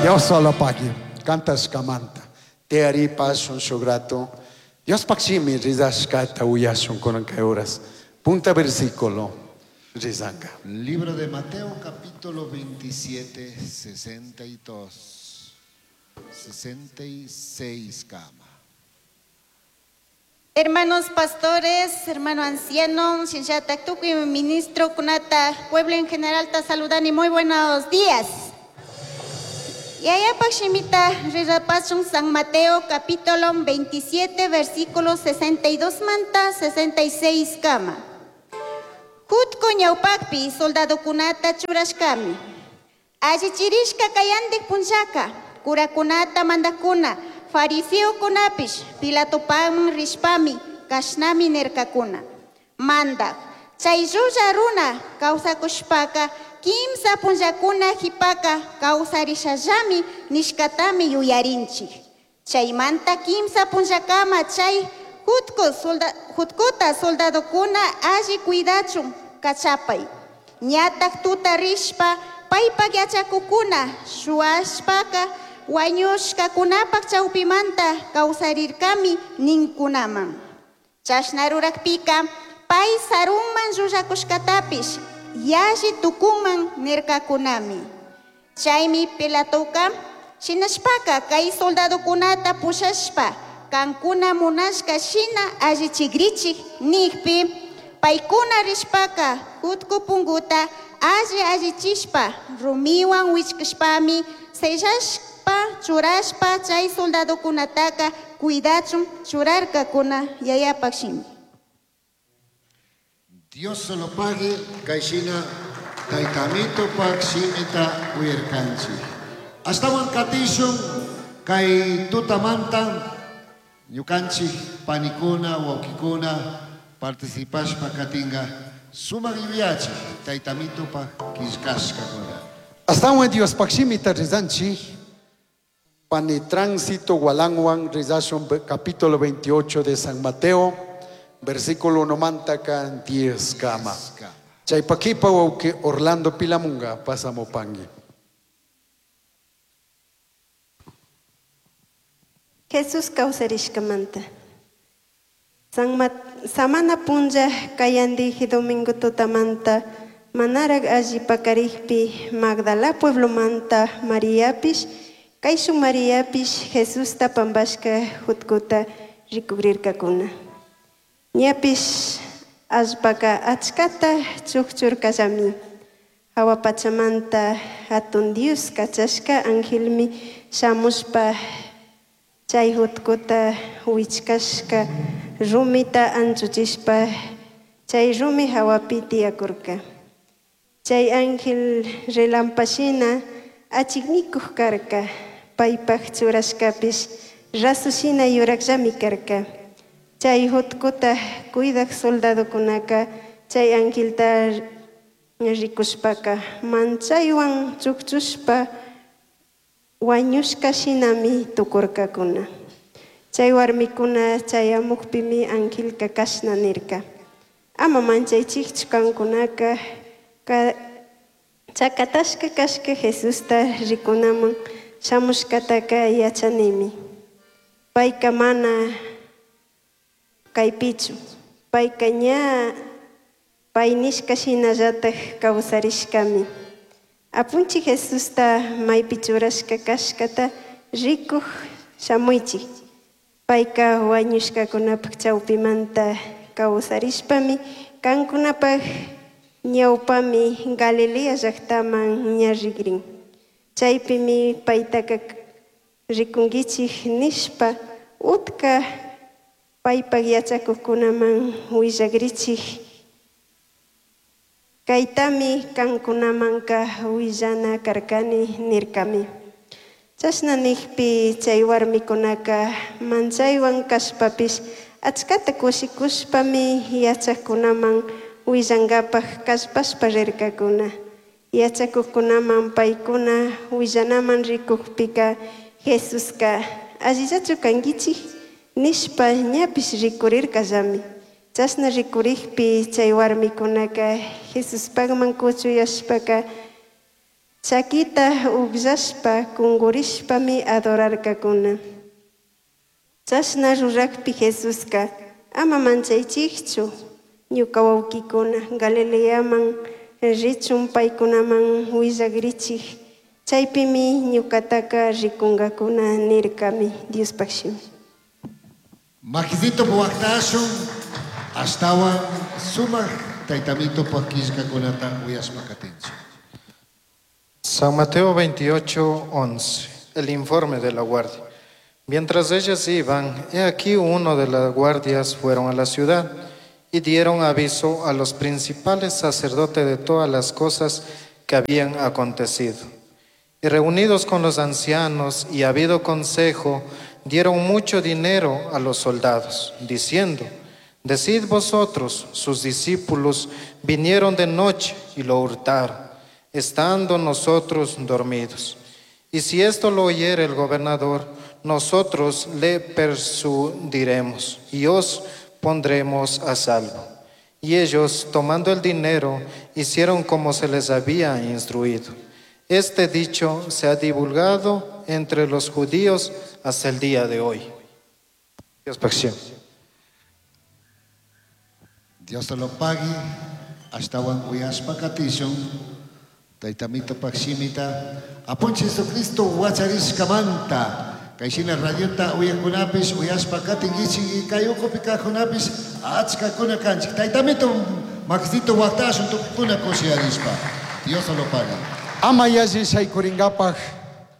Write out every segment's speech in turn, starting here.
Dios solo pagui. Kantashkamanta. Tiyaripashun shuk rato. Diospaj shimi rizashkata uyashun kunan kay horas. Punta versículo rizanga. Libro de Mateo capítulo 27, 62, 66 kama. Hermanos pastores, hermano anciano, Shinshata Tukuy, ministro kunata, pueblo en general, ta saludan y muy buenos días. Yayapak shimita rirapashun San Mateo capítulo 27, versículo 62 manta 66 kama. Jutku ñawpakpi soldadokunata churashkami. Allichirishka kayandik punllaka, curakunata mandakuna, fariseokunapish, Pilatopakman rishpami, kashnami nirkakuna. Mandak, chay llulla runa kawsakushpaka, kimsa punllakuna jipaka kawsarishallami nishkatami yuyarinchik. Chaymanta kimsa punllakama chay jutku jutkuta soldadokuna alli cuidachun kachapay. Ñatak tuta rishpa paypak yachakukuna shuwashpaka wañushkakunapak chawpimanta kawsarirkami ninkunaman. Chashna rurakpika pay sarunman llullakushkatapish yalli tukunman nirkakunami. Chaymi Pilatoka shinashpaka kay soldadokunata pushashpa kankuna munashka shina allichigrichik nikpi paykuna rishpaka jutku punguta alli allichishpa rumiwan wichkashpami sellashpa churashpa chay soldadokunataka cuidachun churarkakuna yayapak shimi. Dios solo pague kayshina taytamito pak shimita uyarkanchik. Ashtawan katishun kay tutamanta ñukanchik panikuna wawkikuna participashpa katinga sumak yuyachik taytamito pak killkashkakuna. Astawan Diospaj shimita rizanchik. Pani Tránsito Gualangwan rizashun capítulo 28 de San Mateo, versículo 1 mantaka 10 kama. Chaypakipa wawki Orlando Pilamunga pasamupangui. Jesús kawsarishkamanta. Samana punlla kayandiji domingo tutamanta manarag alli pakarikpi Magdala pueblomanta Mariapish, kayshun Mariapish Jesusta pampashka jutkuta rikugrirkakuna. Ñapish allpaka achkata chukchurkallami. Hawa pachamanta hatun Dios kachashka angelmi shamushpa chay jutkuta wichkashka rumita anchuchishpa chay rumi hawapi tiyakurka. Chay ángel relampashina achiknikuq karka, paypaq churashkapish rasushina yurakllami karka. Chay jutkuta cuidaq soldadokunaka chay angelta rikushpaka manchaywan chukchushpa wañushka shinami tukurkakuna. Chay warmikuna chayamukpimi angelka kashna nirka. Ama manchaychikchu kankunaka chakatashka kashka Jesusta rikunaman shamushkataka yachanimi. Payka mana kaypichu, payka ña pay nishka shinallatak kawsarishkami. Apunchik Jesusta maypi churashka kashkata rikuj shamuychik. Payka wañushkakunapak chawpimanta kawsarishpami kankunapak ñawpami Galilea llaktaman ña rigrin. Chaypimi paytaka rikunkichik nishpa utka paypak yachakuqkunaman willakrichik. Kaytami kankunamanka willana karkani nirkami. Chashna nikpi chay warmikunaka manchaywan kashpapish achkata kushikushpami yachakunaman willankapak kallpashpa rirkakuna. Yachakuqkunaman paykuna willanaman rikukpika Jesuska allillachu kankichik nishpa ñapish rikurirkallami. Chashna rikurikpi chay warmikunaka Jesuspakman kuchuyashpaka Chaquita ugllashpa cungurishpami adorarcacuna. Chashna rurajpi Jesusca, ama manchaichijchu, ñuca huauquicuna, Galileaman richun paicunaman huillagrichij. Chaipimi ñucataca ricungacuna nircami Diospaj shimi. Makisito waqtashun ashtawan sumaq taytamitupa qillqakunata uyashpa katinchik. San Mateo 28, 11. El informe de la guardia. Mientras ellas iban, he aquí uno de las guardias fueron a la ciudad y dieron aviso a los principales sacerdotes de todas las cosas que habían acontecido. Y reunidos con los ancianos y habido consejo, dieron mucho dinero a los soldados, diciendo: Decid vosotros, sus discípulos vinieron de noche y lo hurtaron, estando nosotros dormidos. Y si esto lo oyere el gobernador, nosotros le persuadiremos y os pondremos a salvo. Y ellos, tomando el dinero, hicieron como se les había instruido. Este dicho se ha divulgado entre los judíos hasta el día de hoy. Dios pague. Dios te lo pague. Ashtawan uyashpa katishun. Taytamitupak shimita. Apunchik Jesucristo wacharishkamanta. Kay shina radiota uyakunapish uyashpa katinkichik kay ukupi kajkunapish achkakuna kanchik. Taytamito makisito waqtashun tukukuna kushiyarishpa. Dios te lo pague. Ama yalli shaykuringapaj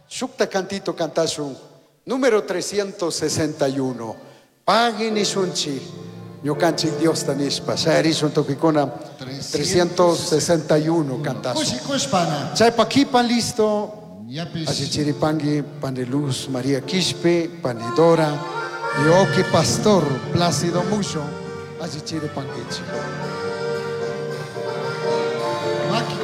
shukta cantito cantashun. Número 361. Pagui nishunchik. Ñukanchik Diosta nishpa. Shayarishun tukikuna 361 cantashun. Kushikushpana. Chaypa kipan listo. Ñapish. Así Chiripangi, Paneluz, María Quispe, Panidora, y Oki Pastor, Plácido Mucho, así Chiripanguichi.